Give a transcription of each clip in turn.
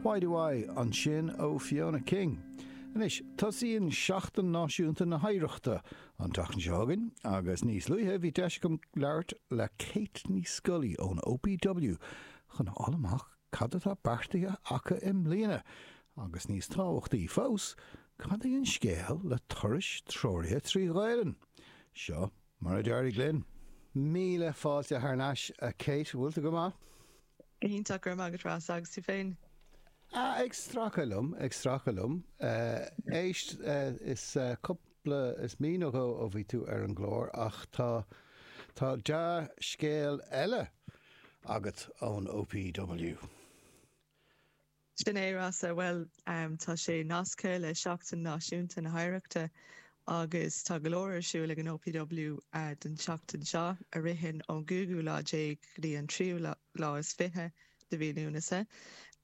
Why Do I ansin ó Fiona King. Anois, tosaíonn Seachtain Náisiúnta na hOidhreachta an tseachtain seo chugainn agus níos luaithe bhí deis agam labhairt le Kate Ní Scolaí ón OPW chun a fháil amach cad atá beartaithe acu i mbliana agus níos tábhachtaí fós, cad é an scéal le turais treoraithe 3 Ghaelainn? Seo mar a d'éirigh linn. Míle fáilte thar n-ais, a Kate. Bhfuil tú go maith? Go hiontach, go raibh maith agat Rossa, agus tú féin? Ah, ag stracadh liom, ag stracadh liom. Éist, is cúpla, is mí nó dhó ó bhí tú ar an gclár ach tá, tá dea-scéal eile agat ón OPW. Sin é, Rossa. Bhuel, tá sé nasctha le Seachtain Náisiúnta na hOidhreachta agus tá go leor ar siúl ag an OPW don tseachtain seo, a ritheann ón gcúigiú lá déag go dtí an tríú lá is 20 de mhí Lúnasa.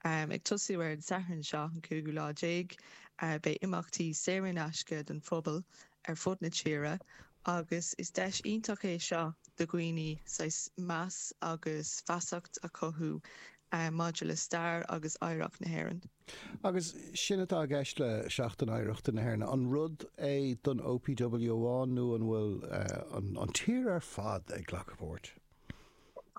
Ag tosú ar an Satharn seo, an cúigiú lá déag, beidh imeachtaí saor in aisce don phobal ar fud na tíre agus is deis iontach é seo do dhaoine saghas meas agus feasacht a chothú maidir le stair agus oidhreacht na hÉireann. Agus sin atá i gceist le Seachtain Oidhreachta na hÉireann. An rud é don OPW amháin nó an bhfuil an tír ar fad ag glacadh páirt?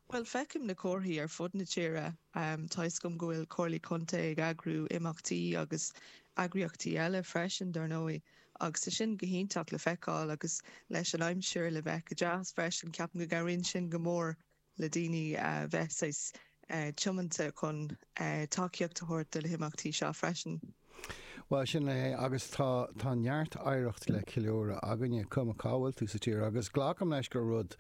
Bhuel, feicim na comharthaí ar fud na tíre. Tá fhios agam go bhfuil comhairlí contae ag eagrú imeachtaí agus eagraíochtaí eile freisin, dar ndóigh, agus tá sin go hiontach le feiceáil agus leis an aimsir le bheith go deas freisin, ceapaim go gcabhraíonn sin go mór le daoine a bheith saghas tiomanta chun tacaíocht a thabhairt do na himeachtaí seo freisin. Bhuel, sin é, agus tá, tá neart oidhreacht le ceiliúradh againne, cuma cá bhfuil tú sa tír, agus glacaim leis gur rud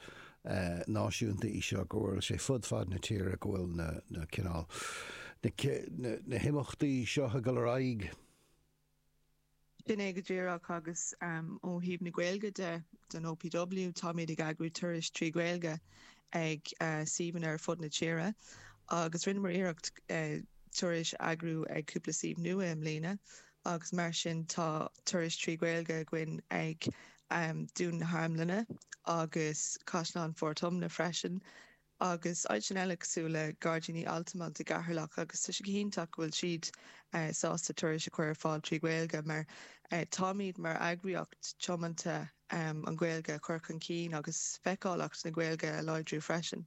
náisiúnta í seo, go bhfuil sé fud fad na tíre, go bhfuil na, na cineál, na, na, na himeachtaí seo ag dul ar aghaidh. Sin é go díreach agus ó thaobh na Gaeilge de, don OPW, táimid ag eagrú turais 3 Ghaeilge ag suíomhanna ar fud na tíre agus rinneamar iarracht turais a eagrú ag cúpla suíomh nua i mbliana agus mar sin tá turais 3 Ghaeilge againn ag Dún na hArmlainne agus Caisleán Phort Omna freisin. agus áiteanna eile cosúil le Gairdíní Altamont i gCeatharlach agus tá sé go hiontach go bhfuil siad sásta turais a chur ar fáil 3 Ghaeilge mar táimid mar eagraíocht tiomanta an Ghaeilge a chur chun cinn agus feiceálacht na Gaeilge a láidriú freisin.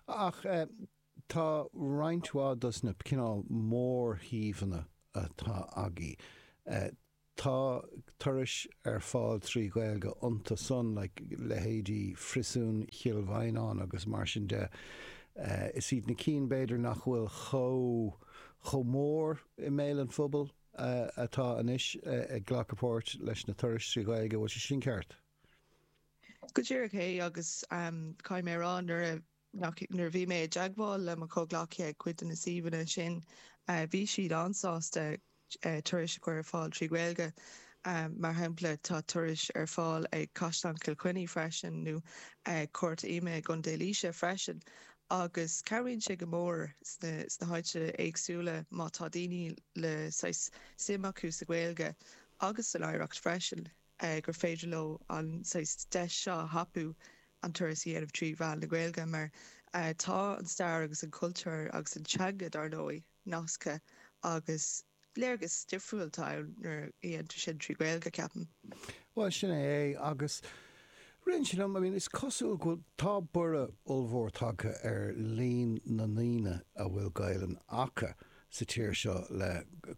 Ach tá roinnt mhaith dos na cineál mórshuíomhanna atá agaibh. Tá turais ar fáil 3 Ghaeilge iontu san, like leithéidí Phriosún Chill Mhaighneáin agus mar sin de. Is iad na cinn b'fhéidir nach bhfuil chomh chomh mór i mbéal an phobail atá anois ag glacadh páirt leis na turais 3 Ghaeilge. Bhfuil sé sin ceart? Go díreach é agus caithfidh mé a rá nuair a Nuair a bhí mé i dteagmháil le mo chomhghleacaithe ag cuid de na suíomhanna sin, bhí siad an-sásta turais a chur ar fáil 3 Ghaeilge. Mar shampla, tá turais ar fáil ag Caisleán Chill Chainnigh freisin nó Cúirt Ime i gContae Laoise freisin agus cabhraíonn sé go mór sna háiteanna éagsúla má tá daoine le saghas suim acu sa Ghaeilge agus san oidhreacht freisin. gur féidir leo an saghas deis seo a thapú an turas a dhéanamh 3 mheán na Gaeilge mar tá an stair agus an cultúr agus an teanga dar ndóigh nasctha agus léargas difriúil atá ann nuair a dhéantar sin 3 Ghaeilge, ceapaim. Bhuel, sin é é agus ritheann sé liom, I mean, is cosúil go bhfuil, tá borradh ollmhór tagtha ar líon na ndaoine a bhfuil Gaelainn acu sa tír seo le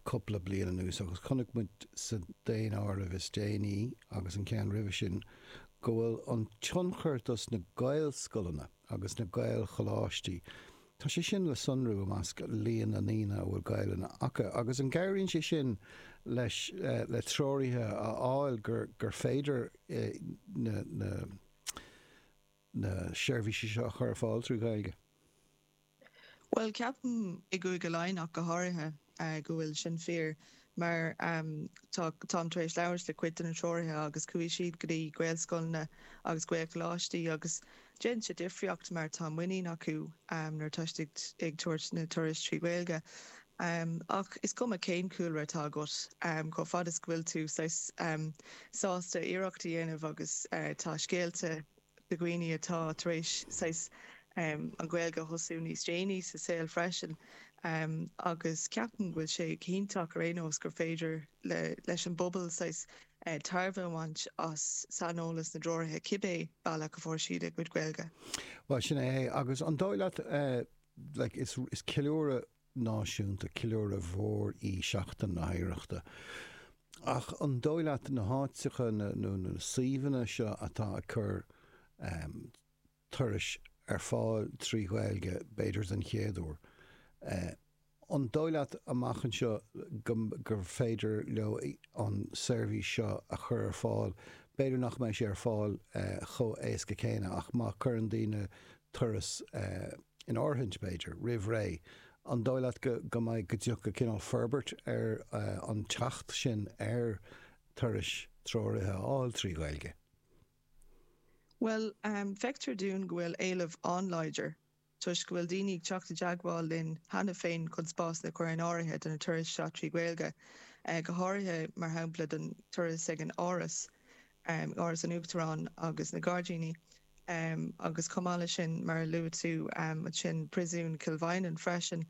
cúpla bliain anuas agus chonaic muid sa daonáireamh is déanaí agus an ceann roimhe sin go bhfuil an tionchar dos na Gaelscoileanna agus na Gaelcholáistí, tá sé sin le sonrú i measc líon na ndaoine a bhfuil Gaelainn acu agus an gcabhraíonn sé sin leis le treoraithe a fháil gur gur féidir na na na seirbhísí seo a chur ar fáil trí Ghaeilge? Bhuel, ceapaim i gCúige Laighean ach go háirithe go bhfuil sin fíor mar tá, táim tar éis labhairt le cuid de na treoraithe agus chuaigh siad go dtí Gaelscoileanna agus Gaelcholáistí agus déanann sé difríocht mar tá muinín acu nuair atá siad ag tabhairt na turais trí Ghaeilge. Ach is cuma cén cúlra atá agat, chomh fada is go bhfuil tú saghas sásta iarracht a dhéanamh agus tá scéalta de dhaoine atá tar éis saghas. an Ghaeilge a thosú níos déanaí sa saol freisin agus ceapaim go bhfuil sé go hiontach ar aon nós gur féidir leis an bpobal saghas tairbhe a bhaint as saineolas na dtreoraithe cibé bealach a fuair siad a gcuid Gaeilge. Bhuel, sin é é. Agus an dóigh leat, like, is ceiliúradh náisiúnta, ceiliúradh mhór í Seachtain na hOidhreachta. Ach an dóigh leat na háiteacha nó na suíomhanna seo atá ag cur turais ar fáil trí Ghaeilge, b'fhéidir den chéad uair. An dóigh leat amach anseo gur féidir leo an seirbhís seo a chur ar fáil? B'fhéidir nach mbeidh sé ar fáil chomh éasca céanna ach má chuireann daoine turas in áirithint, b'fhéidir, roimh ré, an dóigh leat go mbeidh, go dtiocfaidh cineál forbairt ar an teacht sin ar turais treoraithe a fháil trí Ghaeilge? Bhuel, feictear dúinn go bhfuil éileamh an-láidir, toisc go bhfuil daoine ag teacht i dteagmháil linn cheana féin chun spásanna a chur in áirithe do na turais seo trí Ghaeilge, go háirithe, mar shampla, don turas ag an Áras, Áras an Uachtaráin agus na Gairdíní, agus chomh maith leis sin, mar a luaigh tú ansin, Príosún Chill Mhaighneann freisin.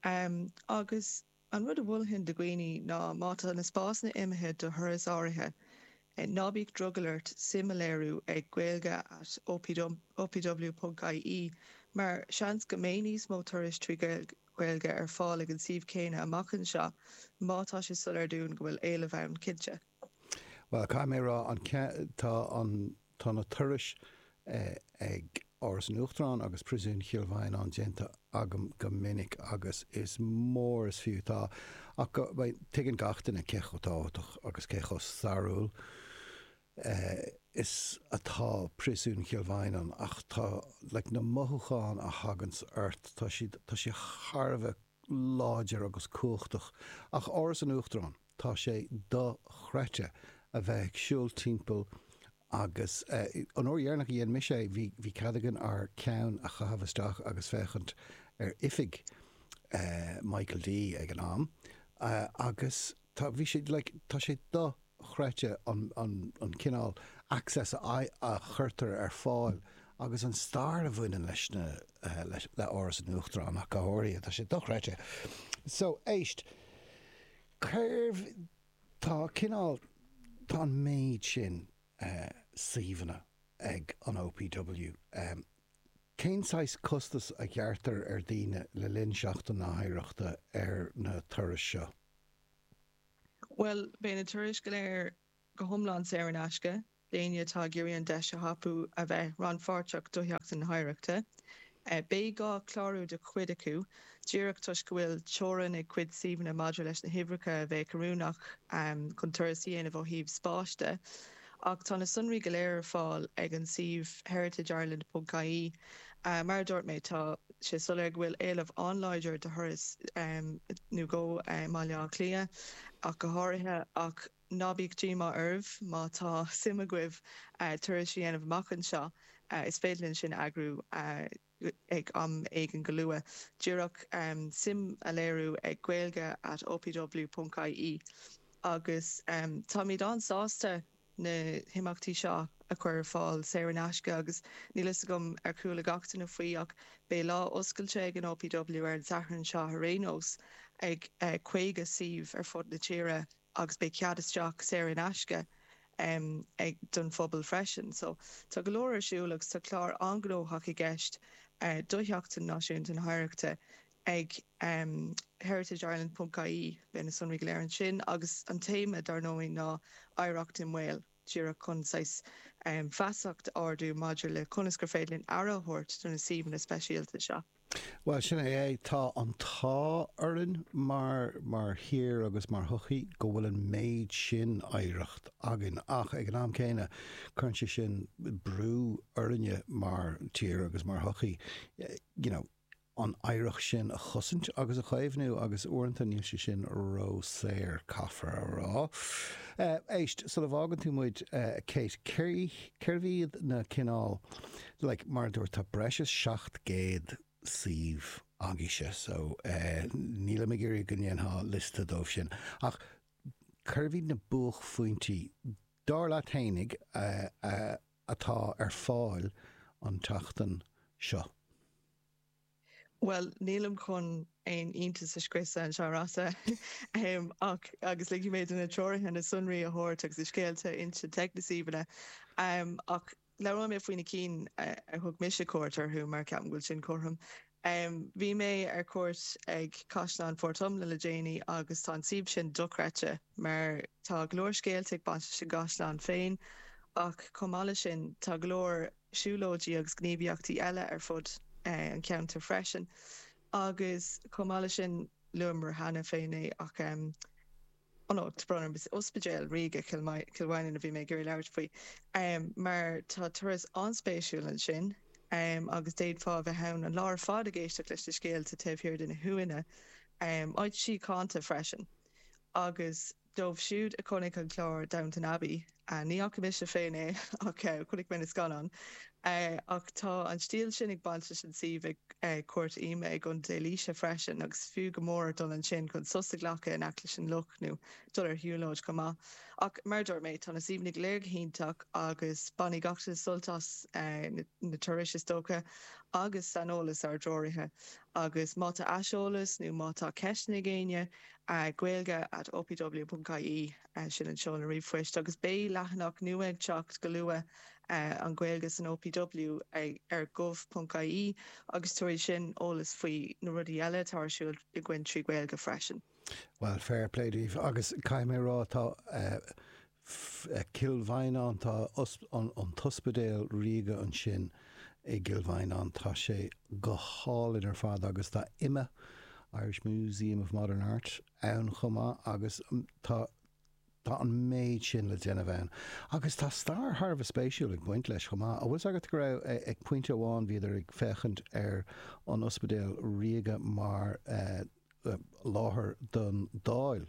Agus. An rud a mholfainn do dhaoine ná má tá na spásanna imithe do thuras áirithe, ná bíodh drogall ort suim a léiriú ag gaeilge at opw ponc ie mar seans go mbeidh níos mó turais trí Ghaeilge ar fáil ag an suíomh céanna amach anseo má tá sé soiléir dúinn go bhfuil éileamh ann, cinnte. Bhuel, caithfidh mé a rá, an, tá an, tá na turais ag Áras an Uachtaráin agus Príosún Chill Mhaighneáin déanta agam go minic agus is mór is fiú. Tá, ach go, tuigeann gach duine cé chomh tábhachtach agus cé chomh stairiúil is atá Príosún Chill Mhaighneáin ach tá, like, na mothúcháin a thaganns ort, tá siad, tá sé thar a bheith láidir agus cumhachtach. Ach Áras an Uachtaráin, tá sé dochreidte a bheith ag siúl timpeall agus an uair dheireanach a dhein mise é, bhí, bhí cead againn ár ceann a chaitheamh isteach agus féachaint ar oifig Michael D ag an am agus tá, bhí sé, like, tá sé do. chreidte an cineál access a chuirtear ar fáil agus an stair a bhaineann leis na, le Áras an Uachtaráin ach go háirithe, tá sé dochreidte. So, éist, cérbh, tá cineál, tá an méid sin suíomhanna ag an OPW, cén saghas costas a ghearrtar ar daoine le linn Seachtain na hOidhreachta ar na turais seo? Bhuel, beidh na turais go léir go hiomlán saor in aisce d'éinne atá ag iarraidh an deis a thapú a bheith rannpháirteach do Sheachtain na hOidhreachta. Beidh gá clárú do chuid acu, díreach toisc go bhfuil teorainn ag cuid suíomhanna maidir leis na huimhreacha a bheadh oiriúnach chun turas a dhéanamh ó thaobh spáis de. Ach tá na sonraí go léir ar fáil ag an suíomh heritageireland.ie. Mar a dúirt mé, tá sé soiléir go bhfuil éileamh an-láidir do thuras nó dhó i mBaile Átha Cliath ach go háirithe, ach ná bíodh díomá oraibh má tá suim agaibh turais a dhéanamh amach anseo, is féidir linn sin a eagrú ag am éigin go luath. Díreach suim a léiriú ag gaeilge at opw ponc ie agus táimid an-sásta na himeachtaí seo a chur ar fáil saor in aisce agus níl fhios agam ar chuala gach duine faoi ach beidh lá oscailte ag an OPW ar an Satharn seo ar aon nós ag 50 suíomh ar fud na tíre agus beidh cead isteach saor in aisce ag don phobal freisin. So tá go leor ar siúl agus tá clár an-ghnóthach i gceist do Sheachtain Náisiúnta na hOidhreachta ag heritageireland ponc ie, beidh na sonraí go léir ansin agus an téama dar ndóigh ná Oidhreacht i mBaol, díreach chun saghas feasacht a ardú maidir le conas gur féidir linn aire a thabhairt do na suíomhanna speisialta seo. Bhuel, sin é é. Tá an t-ádh orainn mar, mar thír agus mar shochaí go bhfuil an méid sin oidhreacht againn ach ag an am céanna cuireann sé sin brú orainne mar tír agus mar shochaí, you know, an oidhreacht sin a chosaint agus a chaomhnú agus uaireanta níl sé sin ró-saor, caithfear a rá. Éist, sula bhfágann tú muid, Kate, cérbh iad na cineál, like, mar a dúirt, tá breis is 700 suíomh agaibhse, so nílim ag iarraidh go ndéanfá liosta dóibh sin, ach cérbh iad na buaicphointí, dar leat fhéinig, atá ar fáil an tseachtain seo? Bhuel, nílim chun aon iontas a scriosadh anseo, a Rossa, ach agus ligfidh mé do na treoraithe na sonraí a thabhairt agus na scéalta a insint ag na suíomhanna. Ach labhróidh mé faoi na cinn a thug mise cuairt orthu mar ceapaim go bhfuil sin cothrom. Bhí mé ar cuairt ag Caisleán Phort Omna le déanaí agus tá an suíomh sin dochreidte mar tá go leor scéalta ag baint leis an gcaisleán féin ach chomh maith leis sin tá go leor siúlóidí agus gníomhaíochtaí eile ar fud an cheantair freisin. Agus chomh maith leis sin, luamar cheana féin é ach oh no, tá brón orm, is Ospidéal Ríoga Chill Mhaighneann a bhí mé ag iarraidh labhairt faoi mar tá turas an-spéisiúil ansin agus d'fhéadfá a bheith ann an lá ar fad ag éisteacht leis na scéalta taobh thiar de na huaigheanna. Áit síochánta freisin. Agus Dóibh siúd a chonaic an clár Downton Abbey, ní fhaca mise féin é ach chonaic mé na scannáin, ach tá an stíl sin ag baint leis an suíomh ag Cúirt Ime i gContae Laoise freisin agus fiú go mór dul ansin chun sos a ghlacadh in aice leis an loch nó dul ar shiúlóid chomh maith. Ach mar a dúirt mé, tá na suíomhanna go léir go hiontach agus bainfidh gach duine sult as na turais is dócha agus saineolas ár dtreoraithe. Agus má tá aiseolas nó má tá ceisteanna ag éinne, Gaeilge at opw.ie, sin an seoladh ríomhphoist, agus beidh leathanach nua ag teacht go luath, an Ghaeilge san OPW, ar gov.ie agus tabharfaidh sin eolas faoi na rudaí eile atá ar siúl againn trí Ghaeilge freisin. Bhuel, fair play daoibh agus caithfidh mé a rá tá Cill Mhaighneáin, tá an tOspidéal Ríoga ansin i gCill Mhaighneáin, tá sé go hálainn ar fad agus tá IMMA, Irish Museum of Modern Art, ann chomh maith agus tá tá an méid sin le déanamh ann. Agus tá stair thar a bheith spéisiúil ag baint leis chomh maith. An bhfuil 's agat go raibh, ag pointe amháin bhíodar ag féachaint ar an Ospidéal Ríoga mar láthair don Dáil.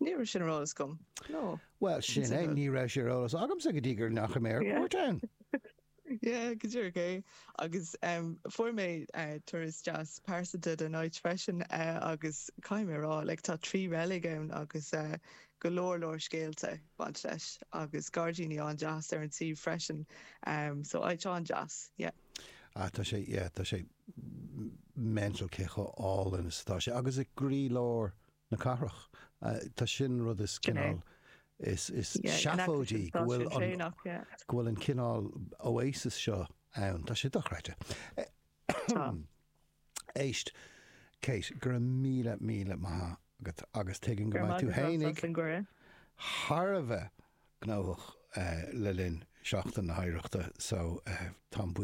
Ní raibh sin ar eolas agam. No. Bhuel, sin é, ní raibh sé ar eolas agamsa go dtí go ndeachaigh mé ar cuairt ann. Yeah, go díreach é. Agus fuair mé turas deas pearsanta den áit freisin agus caithfidh mé a rá, like, tá 3 reilig ann agus go leor leor scéalta ag baint leis agus gairdíní an-deas ar an suíomh freisin. So áit an-deas, yeah. Ah, tá sé, yeah, tá sé mental cé chomh álainn is atá sé. Agus i gcroílár na cathrach. Tá sin rud is cineál is seafóidí go bhfuil an go bhfuil an cineál oasis seo ann. Tá sé dochreidte. Éist, Kate, go raibh míle míle maith agat agus tuigim go mbeidh tú fhéinig thar a bheith gnóthach le linn Seachtain na hOidhreachta so táim buíoch.